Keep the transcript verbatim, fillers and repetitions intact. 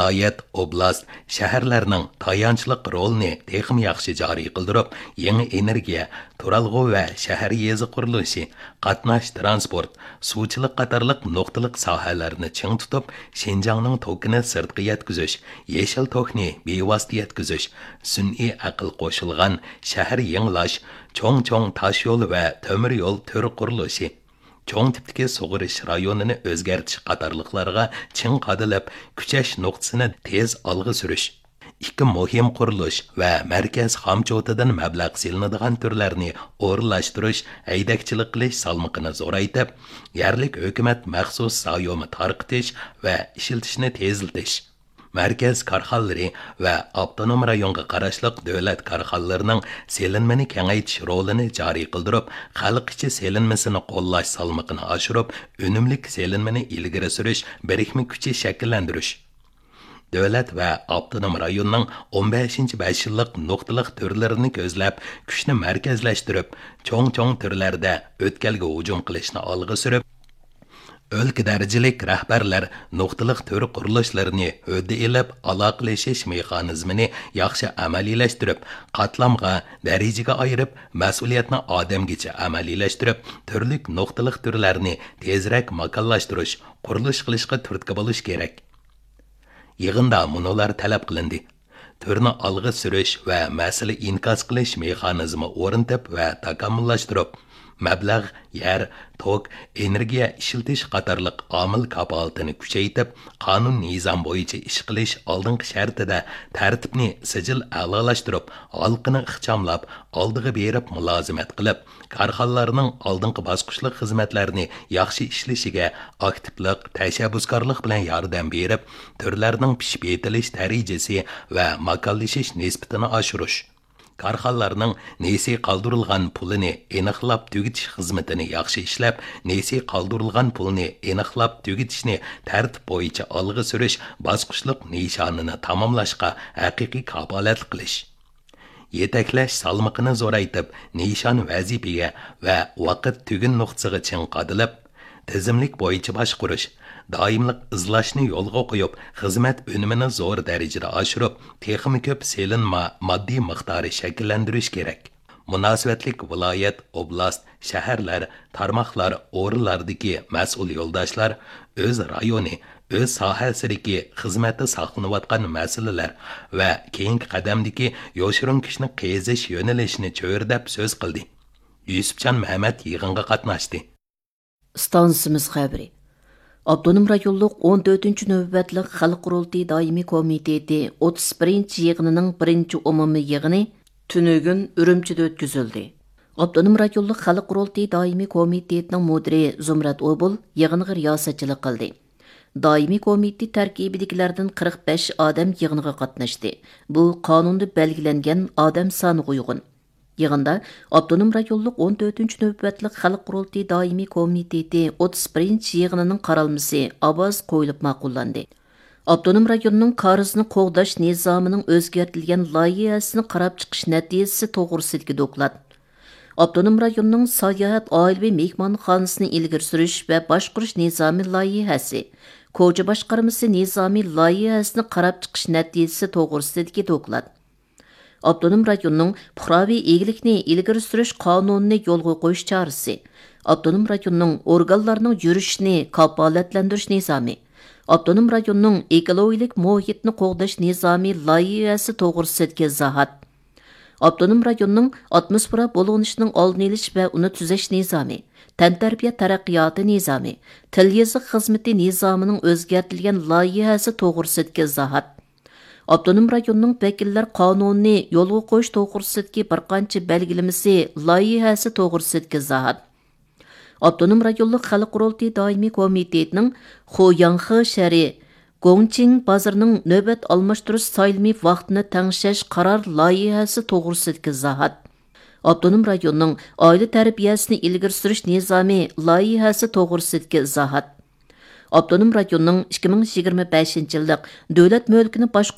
ۋىلايەت، ئوبلاست، شەھەرلەرنىڭ تايانچلىق رولىنى تېخىمۇ ياخشى جارى قىلدۇرۇپ، يېڭى ئېنېرگىيە، تۇرالغۇ ۋە شەھەر يېزا قۇرۇلۇشى، قاتناش تىرانسپورت، سۇچىلىق قاتارلىق نۇقتىلىق ساھەلەرنى چىڭ تۇتۇپ، شىنجاڭنىڭ توكىنى سىرتقا يەتكۈزۈش، يېشىل توكنى بىۋاسىتە يەتكۈزۈش، سۈنئىي ئەقىل قوشۇلغان شەھەر يېڭىلاش، چوڭ-چوڭ تاشيول ۋە تۆمۈر يول تۈر قۇرۇلۇشى، چوڭ تىپتىكى سۇغىرىش رايونىنى ئۆزگەرتىش قاتارلىقلارغا چىڭ قادىلىپ، كۈچەش نۇقتىسىنى تېز ئالغا سۈرۈش، ئىككى مۇھىم قۇرۇلۇش ۋە مەركەز خامچوتىدىن مەبلەغ سېلىنىدىغان تۈرلەرنى ئورۇنلاشتۇرۇش، ھەيدەكچىلىك قىلىش سالمىقىنى زورايتىپ، يەرلىك ھۆكۈمەت مەخسۇس زايومى تارقىتىش ۋە ئىشلىتىشنى تېزلىتىش، مەركەز كارخانىلىرى ۋە ئاپتونوم رايونغا قاراشلىق دۆلەت كارخانىلىرىنىڭ سېلىنمىنى كېڭەيتىش رولىنى جارى قىلدۇرۇپ، خەلق ئىچى سېلىنمىسىنى قوللاش سالمىقىنى ئاشۇرۇپ، ئۈنۈملۈك سېلىنمىنى ئىلگىرى سۈرۈش بىرىكمە كۈچى شەكىللەندۈرۈش. دۆلەت ۋە ئاپتونوم رايوننىڭ ئون بەشىنچى بەش يىللىق نۇقتىلىق تۈرلىرىنى كۆزلەپ، كۈچنى مەركەزلەشتۈرۈپ، چوڭ-چوڭ تۈرلەردە ئۆتكەلگە ھۇجۇم قىلىشنى ئالغا سۈرۈپ، ئۆلكە دەرىجىلىك رەھبەرلەر نۇقتىلىق تۈر قۇرۇلۇشلىرىنى ھۆددە ئېلىپ، ئالاقىلىشىش مېخانىزمىنى ياخشى ئەمەلىيلەشتۈرۈپ، قاتلامغا، دەرىجىگە ئايرىپ، مەسئۇلىيەتنى ئادەمگىچە ئەمەلىيلەشتۈرۈپ، تۈرلۈك نۇقتىلىق تۈرلەرنى تېزرەك ماكانلاشتۇرۇش، قۇرۇلۇش قىلىشقا تۈرتكە بولۇش كېرەك. يىغىندا مۇنۇلار تەلەپ قىلىندى: تۈرنى ئالغا سۈرۈش ۋە مەسىلە ئىنكاس قىلىش مېخانىزمى ئورنىتىپ ۋە تاكامۇللاشتۇرۇپ، مەبلەغ، يەر، توك، ئېنېرگىيە ئىشلىتىش قاتارلىق ئامىل كاپالىتىنى كۈچەيتىپ، قانۇن نىزام بويىچە ئىش قىلىش ئالدىنقى شەرتىدە تەرتىپنى سىجىل ئەلالاشتۇرۇپ، ھالقىنى ئىخچاملاپ، ئالدىغا بېرىپ مۇلازىمەت قىلىپ، كارخانىلارنىڭ ئالدىنقى باسقۇچلۇق خىزمەتلەرنى ياخشى ئىشلىشىگە ئاكتىپلىق، تەشەببۇسكارلىق بىلەن ياردەم بېرىپ، تۈرلەرنىڭ پىشىپ يېتىلىش دەرىجىسى ۋە ماكانلىشىش نىسبىتىنى ئاشۇرۇش. كارخانىلارنىڭ نېسى قالدۇرۇلغان پۇلىنى ئېنىقلاپ تۈگىتىش خىزمىتىنى ياخشى ئىشلەپ، نېسى قالدۇرۇلغان پۇلنى ئېنىقلاپ تۈگىتىشنى تەرتىپ بويىچە ئالغا سۈرۈش باسقۇچلۇق نىشانىنى تاماملاشقا ھەقىقىي كاپالەتلىك قىلىش. يېتەكلەش سالمىقىنى زورايتىپ، نىشان ۋەزىپىگە ۋە ۋاقىت تۈگۈن نۇقتىسىغا چىڭ قادىلىپ، تىزىملىك بويىچە باشقۇرۇش، دائىملىق ئىزلاشنى يولغا قويۇپ، خىزمەت ئۈنۈمىنى زور دەرىجىدە ئاشۇرۇپ، تېخىمۇ كۆپ سېلىنما ماددىي مىقدارى شەكىللەندۈرۈش كېرەك. مۇناسىۋەتلىك ۋىلايەت، ئوبلاست، شەھەرلەر، تارماقلار، ئورۇنلاردىكى مەسئۇل يولداشلار ئۆز رايونى، ئۆز ساھەسىدىكى خىزمەتتە ساقلىنىۋاتقان مەسىلىلەر ۋە كېيىنكى قەدەمدىكى يوشۇرۇن كۈچنى قېزىش يۆنىلىشىنى چۆرىدەپ سۆز قىلدى. يۈسۈپجان مەمەت يىغىنغا قاتناشتى. ئىستانسىمىز خەۋىرى. ئاپتونوم رايونلۇق ئون تۆتىنچى نۆۋەتلىك خەلق قۇرۇلتىيى دائىمىي كومىتېتى ئوتتۇز بىرىنچى يىغىنىنىڭ بىرىنچى ئومۇمىي يىغىنى تۈنۈگۈن ئۈرۈمچىدە ئۆتكۈزۈلدى. ئاپتونوم رايونلۇق خەلق قۇرۇلتىيى دائىمىي كومىتېتىنىڭ مۇدىرى زۇمرەت ئوبۇل يىغىنغا رىياسەتچىلىك قىلدى. دائىمىي كومىتېت تەركىبىدىكىلەردىن قىرىق بەش ئادەم يىغىنغا قاتناشتى. بۇ قانۇندا بەلگىلەنگەن ئادەم سانىغا ئۇيغۇن. يىغىندا ئاپتونوم رايونلۇق ئون تۆتىنچى نۆۋەتلىك خەلق قۇرۇلتىيى دائىمىي كومىتېتى ئوتتۇز بىرىنچى يىغىنىنىڭ قارالمىسى ئاۋاز قويۇلۇپ ماقۇللاندى. ئاپتونوم رايوننىڭ كارىزنى قوغداش نىزامىنىڭ ئۆزگەرتىلگەن لايىھەسىنى قاراپ چىقىش نەتىجىسى توغرىسىدىكى دوكلات. ئاپتونوم رايوننىڭ ساياھەت ئائىلىۋى مېھمانخانىسىنى ئىلگىرى سۈرۈش ۋە باشقۇرۇش نىزامى لايىھەسى، كوچا باشقارمىسى نىزامى لايىھەسىنى قاراپ چىقىش نەتىجىسى توغرىسىدىكى دوكلات. ئاپتونوم رايوننىڭ پۇقراۋى ئىگىلىكنى ئىلگىرى سۈرۈش قانۇنىنى يولغا قويۇش چارىسى، ئاپتونوم رايوننىڭ ئورگانلارنىڭ يۈرۈشىنى كاپالەتلەندۈرۈش نىزامى، ئاپتونوم رايوننىڭ ئېكولوگىيەلىك مۇھىتنى قوغداش نىزامى لايىھەسى توغرىسىدىكى ئىزاھات، ئاپتونوم رايوننىڭ ئاتموسفېرا بۇلغىنىشىنىڭ ئالدىنى ئېلىش ۋە ئۇنى تۈزەش نىزامى، تەنتەربىيە تەرەققىياتى نىزامى، تىل يېزىق خىزمىتى نىزامىنىڭ ئۆزگەرتىلگەن لايىھەسى توغرىسىدىكى ئىزاھات، ئاپتونوم رايوننىڭ ۋەكىللەر قانۇنىنى يولغا قويۇش توغرىسىدىكى بىر قانچە بەلگىلىمىسى لايىھەسى توغرىسىدىكى ئىزاھات، ئاپتونوم رايونلۇق خەلق قۇرۇلتىيى دائىمىي كومىتېتىنىڭ خۇياڭخې شەھىرى گوڭچىڭ بازىرىنىڭ نۆۋەت ئالماشتۇرۇش سايلىمى ۋاقتىنى تەڭشەش قارار لايىھەسى توغرىسىدىكى ئىزاھات، ئاپتونوم رايوننىڭ ئائىلە تەربىيەسىنى ئىلگىرى سۈرۈش نىزامى لايىھەسى توغرىسىدىكى ئىزاھات، ئاپتونوم رايوننىڭ ئىككى مىڭ يىگىرمە بەشىنچى يىللىق دۆلەت مۈلكىنى باشقۇرۇش